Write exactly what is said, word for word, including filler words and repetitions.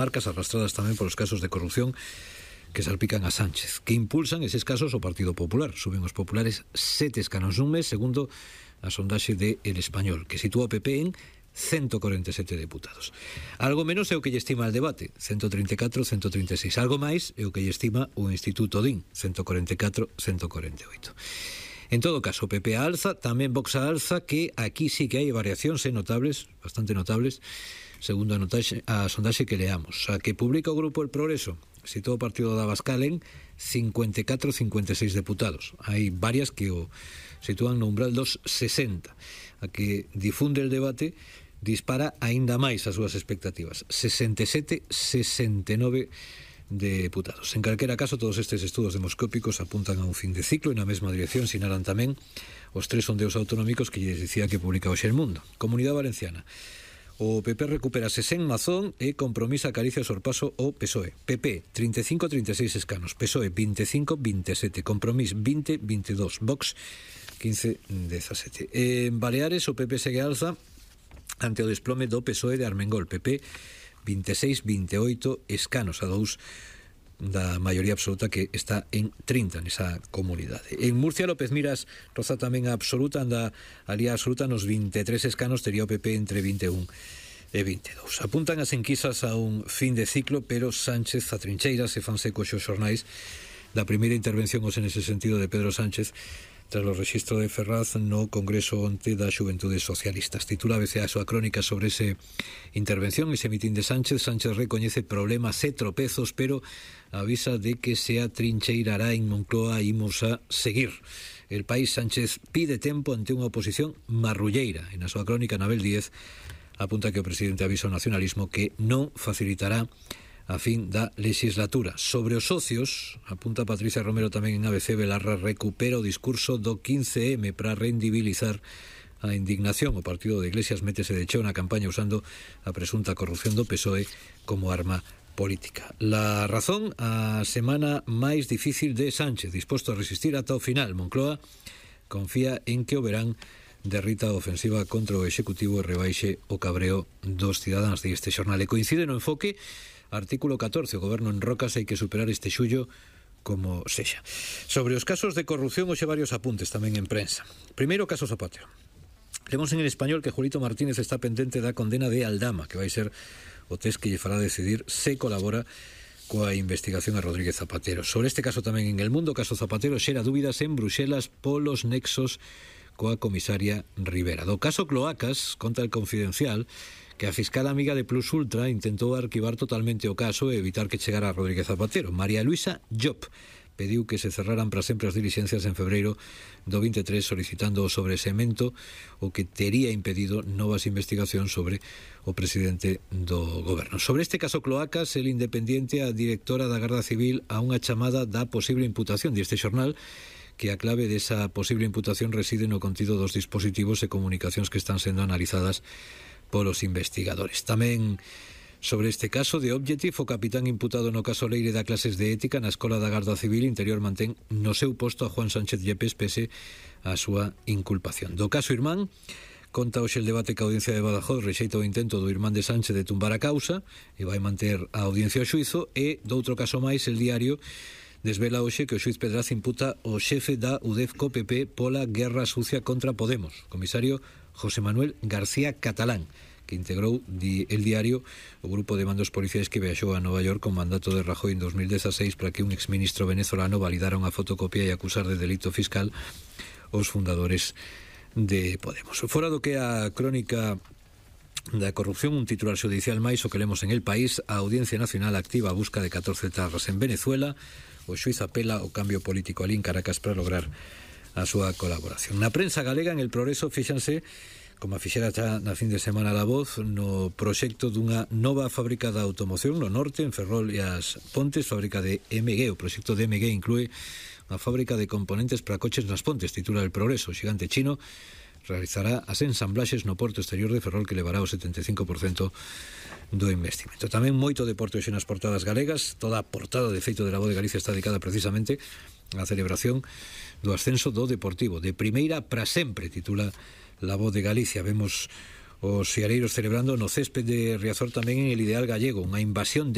marcas arrastradas tamén polos casos de corrupción que salpican a Sánchez, que impulsan eses casos o Partido Popular. Suben os populares sete escanos nun mes, segundo a sondaxe de El Español, que sitúa o P P en ciento cuarenta e sete deputados. Algo menos é o que lle estima el debate, ciento treinta e catro, ciento treinta e seis. Algo máis é o que lle estima o Instituto D I N, ciento cuarenta e catro, ciento cuarenta e oito. En todo caso, o P P alza, tamén Vox alza, que aquí sí que hai variacións notables, bastante notables, segundo a, notaxe, a sondaxe que leamos. A que publica o Grupo El Progreso, sitúa o Partido de Abascal en cincuenta e catro, cincuenta e seis deputados. Hai varias que o sitúan no umbral dos sesenta. A que difunde el debate dispara aínda máis as súas expectativas. sesenta e sete, sesenta e nove deputados. En calquera caso, todos estes estudos demoscópicos apuntan a un fin de ciclo e na mesma dirección sinalan tamén os tres sondeos autonómicos que lles dicía que publica hoxe El Mundo. Comunidade Valenciana. O P P recuperase sen Mazón e Compromís acaricia o sorpaso o P S O E. P P, trinta e cinco, trinta e seis escanos. P S O E, vinte e cinco, vinte e sete. Compromís, vinte, veintidós. Vox, quince, dezasete. En Baleares, o P P segue alza ante o desplome do P S O E de Armengol. P P, vinte e seis, vinte e oito escanos a dous da maioría absoluta, que está en trinta nesa comunidade. En Murcia, López Miras roza tamén a absoluta, anda a lía absoluta nos vinte e tres escanos, tería o P P entre vinte e un e vinte e dous. Apuntan as enquisas a un fin de ciclo, pero Sánchez a trincheiras se fan secos os xornais da primeira intervención, os en ese sentido, de Pedro Sánchez tras o rexistro de Ferraz no Congreso onte das Xuventudes Socialistas. Titula a B C a súa crónica sobre ese intervención, ese mitín de Sánchez. Sánchez recoñece problemas e tropezos, pero avisa de que se atrincheirará en Moncloa e imos a seguir. El País, Sánchez pide tempo ante unha oposición marrulleira. En a súa crónica, Anabel Díez apunta que o presidente avisa ao nacionalismo que non facilitará a fin da legislatura. Sobre os socios, apunta Patricia Romero tamén en A B C, Belarra recupera o discurso do quince eme para rendibilizar a indignación. O partido de Iglesias métese de cheo na campaña usando a presunta corrupción do P S O E como arma política. La Razón, a semana máis difícil de Sánchez, disposto a resistir ata o final. Moncloa confía en que o verán derrita a ofensiva contra o Executivo e rebaixe o cabreo dos cidadáns. De este xornal e coincide no enfoque. Artículo catorce, o goberno enrocas, hai que superar este xullo como sexa. Sobre os casos de corrupción, hoxe varios apuntes tamén en prensa. Primeiro, caso Zapatero. Lemos en El Español que Julito Martínez está pendente da condena de Aldama, que vai ser o test que lle fará decidir se colabora coa investigación a Rodríguez Zapatero. Sobre este caso tamén en El Mundo, caso Zapatero xera dúbidas en Bruxelas polos nexos coa comisaria Rivera. Do caso Cloacas, conta El Confidencial, que a fiscal amiga de Plus Ultra intentou arquivar totalmente o caso e evitar que chegara a Rodríguez Zapatero. María Luisa Llop pediu que se cerraran para sempre as diligencias en febreiro do vinte e tres, solicitando o sobresemento, o que tería impedido novas investigacións sobre o presidente do goberno. Sobre este caso Cloacas, El Independiente, a directora da Garda Civil a unha chamada da posible imputación deste xornal, que a clave desa posible imputación reside no contido dos dispositivos e comunicacións que están sendo analizadas polos investigadores. Tamén sobre este caso de Objective, o capitán imputado no caso Leire da clases de ética na Escola da Garda Civil Interior mantén no seu posto a Juan Sánchez Yepes pese a súa inculpación. Do caso Irmán, conta hoxe el debate que a Audiencia de Badajoz rexeita o intento do irmán de Sánchez de tumbar a causa e vai manter a audiencia ao xuizo. E do outro caso máis, El Diario desvela hoxe que o xuiz Pedraz imputa o xefe da U D E F co P P pola guerra sucia contra Podemos, comisario José Manuel García Catalán, que integrou di El Diario o grupo de mandos policiais que viaxou a Nova York con mandato de Rajoy en dos mil dezaseis para que un exministro venezolano validara unha fotocopia e acusar de delito fiscal os fundadores de Podemos. Fora do que a crónica da corrupción, un titular xudicial máis o que lemos en El País. A Audiencia Nacional activa a busca de catorce tarras en Venezuela. O xuiz apela o cambio político alí en Caracas para lograr a súa colaboración. Na prensa galega, en El Progreso, fíxanse, como a fixera xa na fin de semana La Voz, no proxecto dunha nova fábrica da automoción no norte, en Ferrol e as Pontes, fábrica de M G. O proxecto de M G inclúe unha fábrica de componentes para coches nas Pontes, titula El Progreso. O xigante chino realizará as ensamblaxes no porto exterior de Ferrol, que levará o setenta e cinco por cento do investimento. Tamén moito deporte hoxe nas portadas galegas. Toda a portada de feito de La Voz de Galicia está dedicada precisamente á celebración do ascenso do Deportivo de primeira para sempre, titula La Voz de Galicia. Vemos os seareiros celebrando no césped de Riazor tamén en el Ideal Gallego, unha invasión de